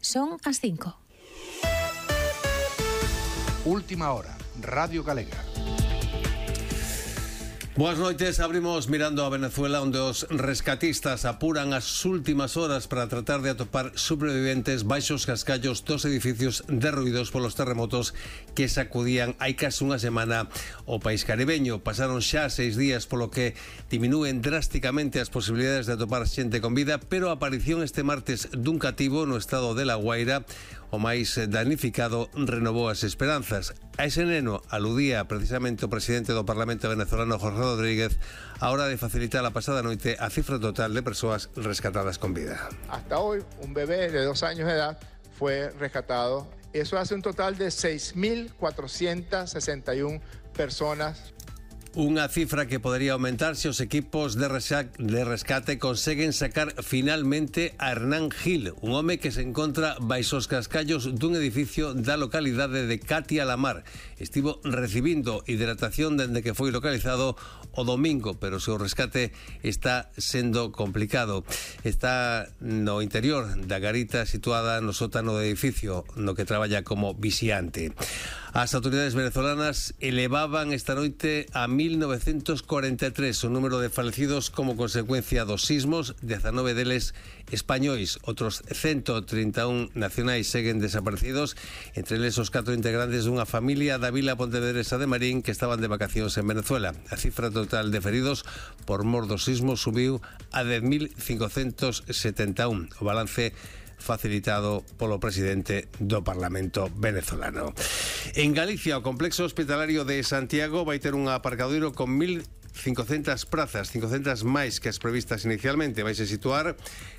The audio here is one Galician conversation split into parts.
Son as 5. Última hora, Radio Galega. Boas noites, abrimos mirando a Venezuela, onde os rescatistas apuran as últimas horas para tratar de atopar superviventes baixo os cascallos dos edificios derruídos polos terremotos que sacudían hai casi unha semana o país caribeño. Pasaron xa 6 días, polo que diminúen drásticamente as posibilidades de atopar xente con vida, pero a aparición este martes dun cativo no estado de La Guaira, o máis danificado, renovou as esperanzas. A ese neno aludía precisamente o presidente do Parlamento venezolano, Jorge Rodríguez, a hora de facilitar a pasada noite a cifra total de persoas rescatadas con vida. Hasta hoy, un bebé de 2 años de edad fue rescatado. Eso hace un total de 6.461 personas. Unha cifra que podería aumentar se os equipos de rescate conseguen sacar finalmente a Hernán Gil, un home que se encontra baixo os cascallos dun edificio da localidade de Catia la Mar. Estivo recibindo hidratación dende que foi localizado o domingo, pero o seu rescate está sendo complicado. Está no interior da garita situada no sótano do edificio no que traballa como vixiante. As autoridades venezolanas elevaban esta noite a 1943 o número de falecidos como consecuencia dos sismos, 19 deles españois. Outros 131 nacionais seguen desaparecidos, entre eles os 4 integrantes dunha familia da vila pontevedresa de Marín que estaban de vacacións en Venezuela. A cifra total de feridos por mor dos sismos subiu a 10.571. O balance facilitado polo presidente do Parlamento venezolano. En Galicia, o complexo hospitalario de Santiago vai ter un aparcadoiro con 1.500 prazas, 500 máis que as previstas inicialmente. Vaise situar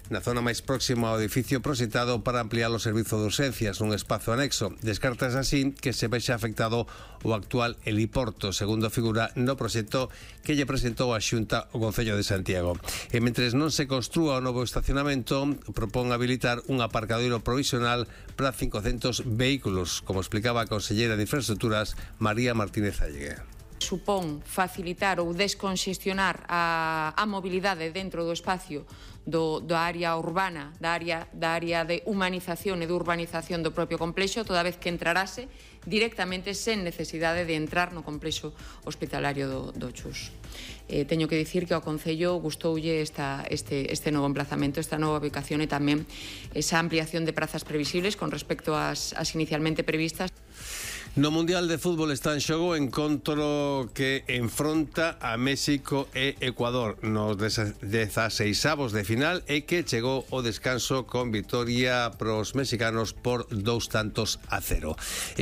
na zona máis próxima ao edificio proxectado para ampliar o servizo de urxencias nun espazo anexo. Descartas así que se vexa afectado o actual heliporto, segundo figura no proxecto que lle presentou a Xunta o Concello de Santiago. E mentres non se construa o novo estacionamento, propón habilitar un aparcadoiro provisional para 500 vehículos, como explicaba a conselleira de Infraestructuras, María Martínez Allegue. Supón facilitar ou desconxestionar a mobilidade dentro do espacio da área urbana, da área de humanización e de urbanización do propio complexo, toda vez que entrarase directamente sen necesidade de entrar no complexo hospitalario do Chus. Teño que dicir que ao Concello gustoulle este novo emplazamento, esta nova ubicación e tamén esa ampliación de prazas previsibles con respecto ás inicialmente previstas. No Mundial de Fútbol está en xogo o encontro que enfronta a México e Ecuador nos 16avos de final e que chegou ao descanso con vitoria pros mexicanos por 2-0.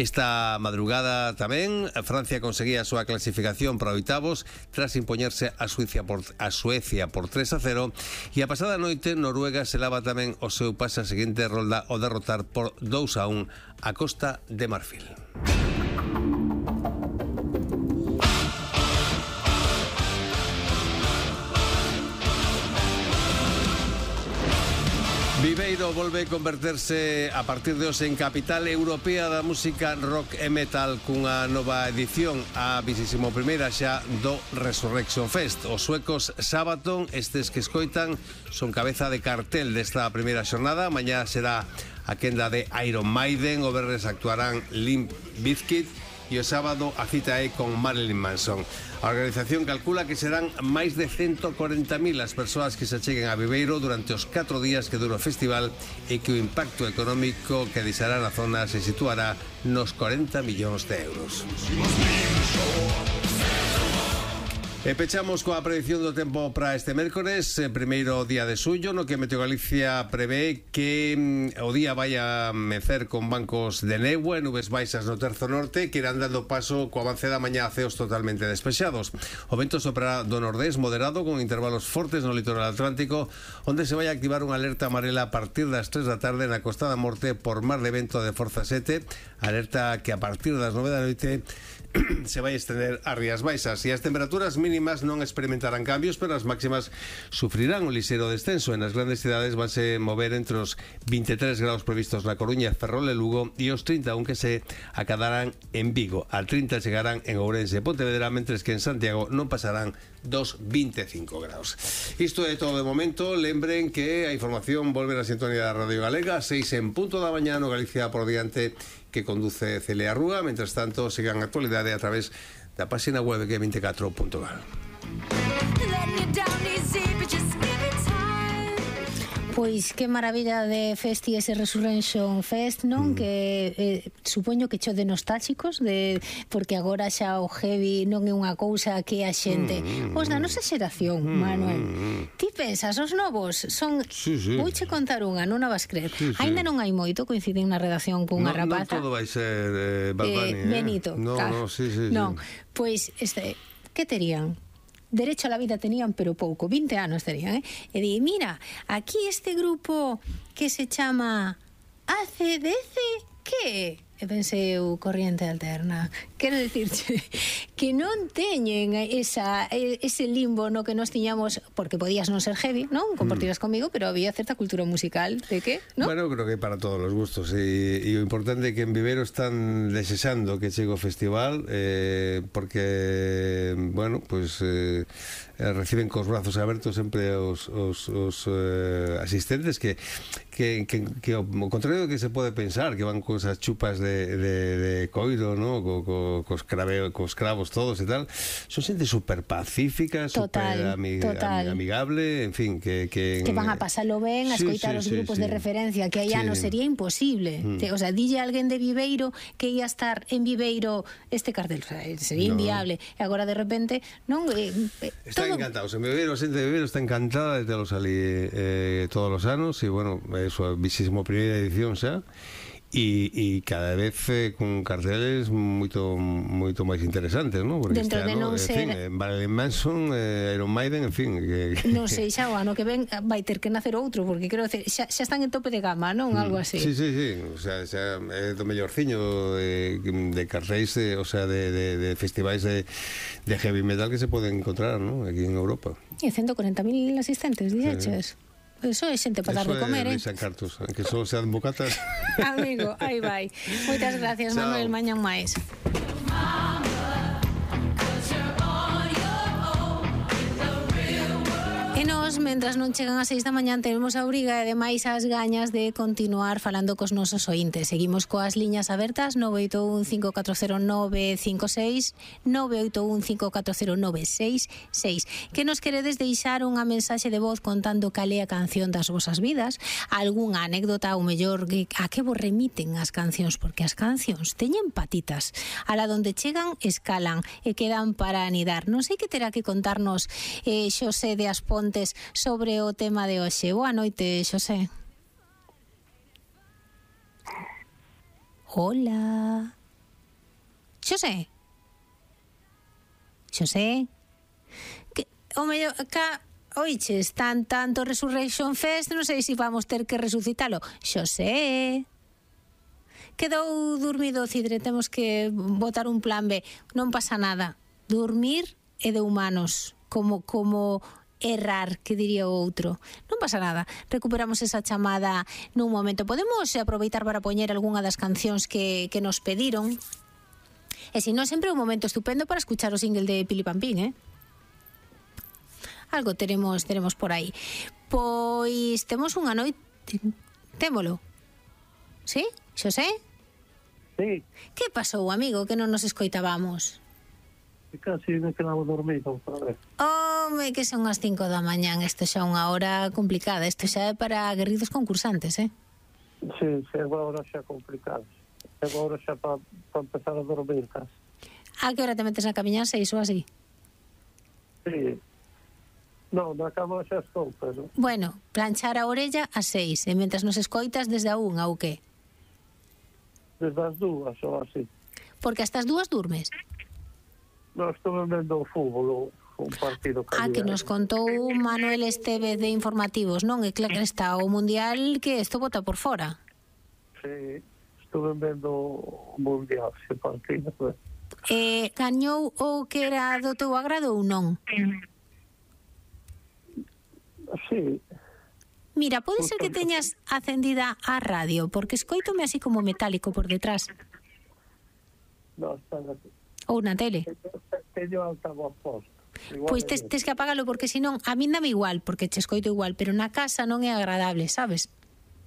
Esta madrugada tamén Francia conseguía a súa clasificación para oitavos tras impoñerse a Suecia por 3-0 e a pasada noite Noruega selaba tamén o seu pase a seguinte rolda ao derrotar por 2-1 a Costa de Marfil. Viveiro volve converterse a partir de hoxe en capital europea da música rock e metal cunha nova edición, a 21ª xa do Resurrection Fest. Os suecos Sabaton, estes que escoitan, son cabeza de cartel desta primeira xornada. Mañá será a quenda de Iron Maiden, o venres actuarán Limp Bizkit e o sábado a cita é con Marilyn Manson. A organización calcula que serán máis de 140.000 as persoas que se cheguen a Viveiro durante os 4 días que dura o festival e que o impacto económico que deixará na zona se situará nos 40 millóns de euros. E pechamos coa predicción do tempo para este mércores, primeiro día de xullo, no que Meteo Galicia prevé que o día vai a mecer con bancos de néboa e nubes baixas no terzo norte que irán dando paso co avance da mañá a ceos totalmente despexados. O vento soprará do nordés moderado con intervalos fortes no litoral atlántico, onde se vai a activar unha alerta amarela a partir das 3 da tarde na Costa da Morte por mar de vento de forza 7, alerta que a partir das 9 da noite se vai estender ás Rías Baixas e as temperaturas mínimas non experimentarán cambios, pero as máximas sufrirán un lixeiro descenso. En as grandes cidades vanse mover entre os 23 graus previstos na Coruña, Ferrol e Lugo e os 30, aunque se acadarán en Vigo. Al 30 chegarán en Ourense e Pontevedra, mentres que en Santiago non pasarán dos 25 graus. Isto é todo de momento. Lembren que a información volve na sintonía da Radio Galega 6 en punto da mañá no Galicia por diante, que conduce Celia Rúa. Mientras tanto, sigan a actualidade a través da página web que é 24.gal. Pois que maravilla de festi ese Resurrection Fest, non? Que supoño que cho de nostálgicos, porque agora xa o heavy non é unha cousa que a xente os da nosa xeración, Manuel. Ti pensas, os novos son... Vouche contar unha, non a vas creer. Ainda non hai moito, coinciden na redacción cunha rapaza. Non todo vai ser Bad Bunny, Benito, claro. Non, pois, que terían? Derecho a la vida tenían, pero pouco, 20 anos tenían, e di, mira, aquí este grupo que se chama ACDC, que? E pensei, corriente alterna. Quero dicirche que non teñen ese limbo no que nos tiñamos, porque podías non ser heavy, non? Compartirás comigo, pero había certa cultura musical, de que, non? Bueno, creo que para todos os gustos, e o importante é que en Viveiro están desexando que chegue o festival, porque, bueno, pues reciben cos brazos abertos sempre os asistentes que ao contrario do que se pode pensar, que van con esas chupas de coiro, ¿no? Cos cravos todos e tal, son xente super pacífica, super amigable, en fin, que van a pasalo ben, a escoitar os grupos de referencia, que aí anos sería imposible. O sea, dille a alguén de Viveiro que ia estar en Viveiro este cartel, sería inviable, e agora de repente non... Están encantados, en Viveiro, a xente de Viveiro está encantada de telos ali todos os anos, e bueno, é a súa 21ª edición xa, e cada vez con carteles moito máis interesantes, ¿no? Porque dentro de non ser... Marilyn Manson, Iron Maiden, en fin, non sei, xa o ano que ven vai ter que nacer outro, porque quero decir, xa están en tope de gama, non? Algo así. Sí, o sea, xa é do mellorciño de cartéis, o sea, de festivais de heavy metal que se poden encontrar, ¿no? Aquí en Europa. E 140.000 asistentes, dixeches? Eso é xente para dar de comer, Eso é cartos, aunque só sean bocatas. Amigo, aí vai. Moitas gracias, Manuel, mañán máis. E nos, mentras non chegan as 6 da mañán, tenemos a obriga e ademais as gañas de continuar falando cos nosos ointes. Seguimos coas liñas abertas 981-540-956, 981-540-966. Que nos queredes deixar unha mensaxe de voz contando cal é a canción das vosas vidas, algunha anécdota ou mellor a que vos remiten as cancións, porque as cancións teñen patitas. A la donde chegan, escalan e quedan para anidar. Non sei que terá que contarnos Xosé de Aspontes sobre o tema de hoxe. Boa noite, Xosé. Hola. Xosé. Que o mellor oiches, tanto Resurrection Fest, non sei se vamos ter que resucitalo. Xosé. Quedou dormido o Cidre, temos que botar un plan B. Non pasa nada. Dormir é de humanos, como errar, que diría o outro. Non pasa nada, recuperamos esa chamada nun momento. Podemos aproveitar para poñer algunha das cancións que nos pediron, e se non, sempre un momento estupendo para escuchar o single de Pili Pampín, algo teremos por aí. Pois temos unha noite, témolo, sí, Xosé? Sí. Que pasou, amigo, que non nos escoitábamos? Casi me quedamos dormidos, padre. Home, que son as 5 da mañán. Isto xa é unha hora complicada. Isto xa é para aguerridos concursantes, Sí, é unha hora xa complicada. É unha hora xa para empezar a dormir, casi. A que hora te metes na camiña? 6 ou así? Sí. Non, na cama xa estou, pero... Bueno, planchar a orella a 6, e mentras nos escoitas desde a 1, ou que? Desde as 2, ou así. Porque hasta as 2 durmes? Non, estou vendo o fútbol, un partido que nos contou Manuel Estevez de Informativos, non? É claro que está o Mundial, que isto bota por fora. Sí, estou vendo o Mundial, ese partido. Gañou o que era do teu agrado ou non? Sí. Mira, pode ser que teñas acendida a radio, porque escoítome así como metálico por detrás. No, está aquí. Ou na tele. Teño altavoz posto. Igual Pois é tes que apagalo, porque senón a min dame igual, porque che escoito igual, pero na casa non é agradable, sabes?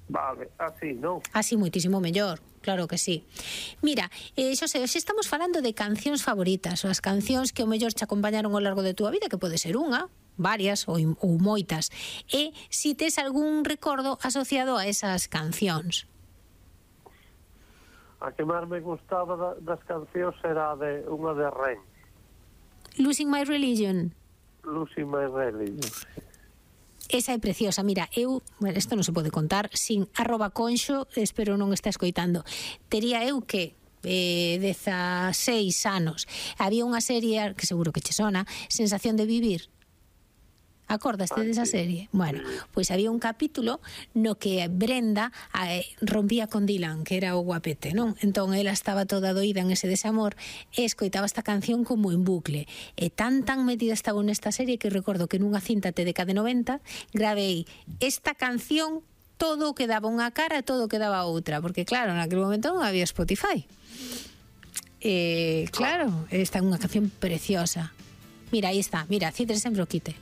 Vale, así, non? Así moitísimo mellor, claro que sí. Mira, Xosé, hoxe estamos falando de cancións favoritas, ou as cancións que o mellor che acompañaron ao largo de túa vida, que pode ser unha, varias ou moitas. E si tes algún recordo asociado a esas cancións. A que máis me gustaba das cancións era unha de Ren, Losing My Religion. Losing My Religion. Esa é preciosa. Mira, bueno, isto non se pode contar sin @conxo, espero non está escoitando. Tería eu que 16 anos. Había unha serie que seguro que che sona, Sensación de Vivir. Acordaste desa serie? Bueno, pois había un capítulo no que Brenda rompía con Dylan, que era o guapete, non? Entón ela estaba toda doída en ese desamor e escoitaba esta canción como en bucle. E tan metida estaba nesta serie que recordo que nunha cinta TDK de 90 gravei esta canción, todo o que daba unha cara e todo o que daba outra, porque claro, naquele momento non había Spotify. Claro, esta é unha canción preciosa. Mira, aí está, mira, Cidre sempre o quite.